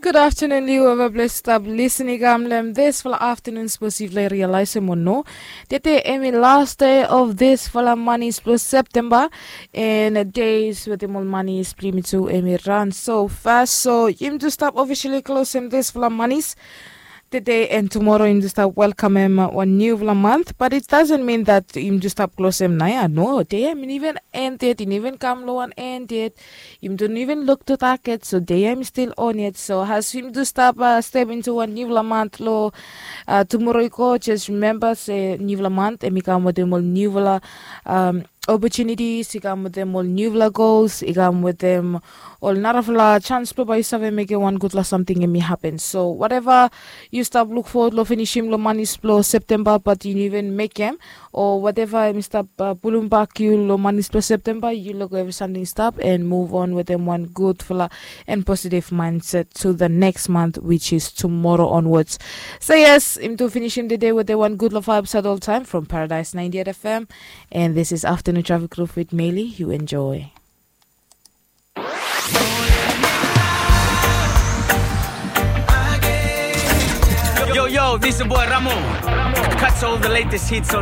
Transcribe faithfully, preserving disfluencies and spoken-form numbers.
Gud aftenun long yu eva ples stap lisin i kam long disfala aftenun, sapos yufala i rialaesem o no, tede em i las dei of disfala manis blong Septemba. En dei wetem ol manis blong yumi tu em i ran so fas, so yumi tu stap ofisali klosem disfala manis tede, en tumoro yumi tu stap welkamem wan niufala mant, bat it dasen min dat yumi tu stap klosem naoia. No, dei ya i no iven en yet, i no iven kam long wan en yet. Yumi tu no iven luk tu taget, so dei ya i stil on yet. So as yumi tu stap step intu wan niufala mant long tumoro i go, jes rimemba se niufala mant em i kam wetem ol niufala opotunitis, i kam wetem ol niufala gols, i kam wetem ol narafala jans blong bae yu save mekem wan gudfala samting em i hapen. So wateva yu stap luk fowod long finisim long manis blong Septemba bat yu no iven mekem, o wateva em i stap pulumbak yu long manis blong Septemba, yu lego evri samting i stap en muv on wetem wan gudfala and positive mindset to the next month, which is tomorrow onwards. So yes, yumi tu finisim tede wetem wan gudfala vibe sat oltaem from Paradise ninety-eight F M. And this is Afternoon Traffic Group with Meli. You enjoy. Yo, yo, this is your boy Ramo. Catch all the latest hits on